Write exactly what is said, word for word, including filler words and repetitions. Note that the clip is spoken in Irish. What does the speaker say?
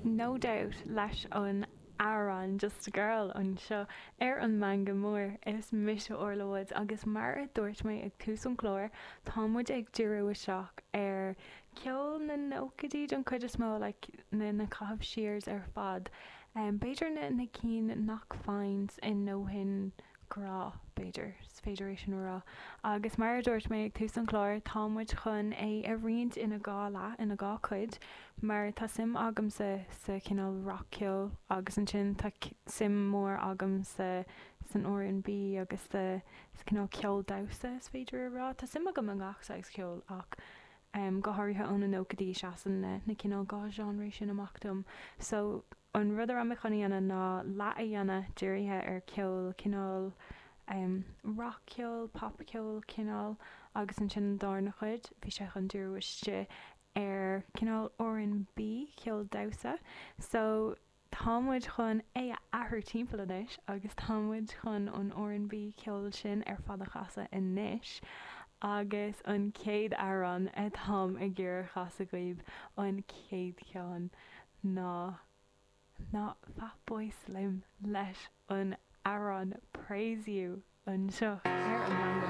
No Doubt leis an amhrán Just a Girl anseo ar an Meangadh Mór. Is mise Orla Woods agus mar a dúirt mé ag tús an chláir, tá muid ag díriú isteach ar ceol na nóchaidí don chuid is mó like, na, na caithimh siar ar fad. Um, b'fhéidir na, na cinn nach bhfaigheann i ndóthain grá b'fhéidir, is féidir é sin a rá. Agus mar a dúirt mé ag tús an chláir, tá muid chun é a roinnt ina dhá leath, ina dhá chuid, mar tá suim agamsa sa chineál rac-cheol agus ansin tá suim mór agam sa san R and B agus sa sa cineál ceol damhsa is féidir a rá. Tá suim agam i ngach saghas ceoil ach um, go háirithe ó na nóchaidí seasann na, na cineál dhá genre sin amach dom. So an rud a raibh mé chun a dhéanamh ná leath a dhéanamh dírithe ar ceol cineál um, rac-cheol, popcheol cineál agus ansin an darna chuid bhí sé chun díriú isteach ar cineál R and B ceol damhsa. So tá muid chun é a athrú timpeall anois agus tá muid chun an R and B ceol sin ar fad a chasadh anois. Agus an chéad amhrán atáim ag iarraidh a chasadh daoibh an chéad cheann ná ná Fatboy Slim leis an amhrán Praise You anseo ar an Meangadh.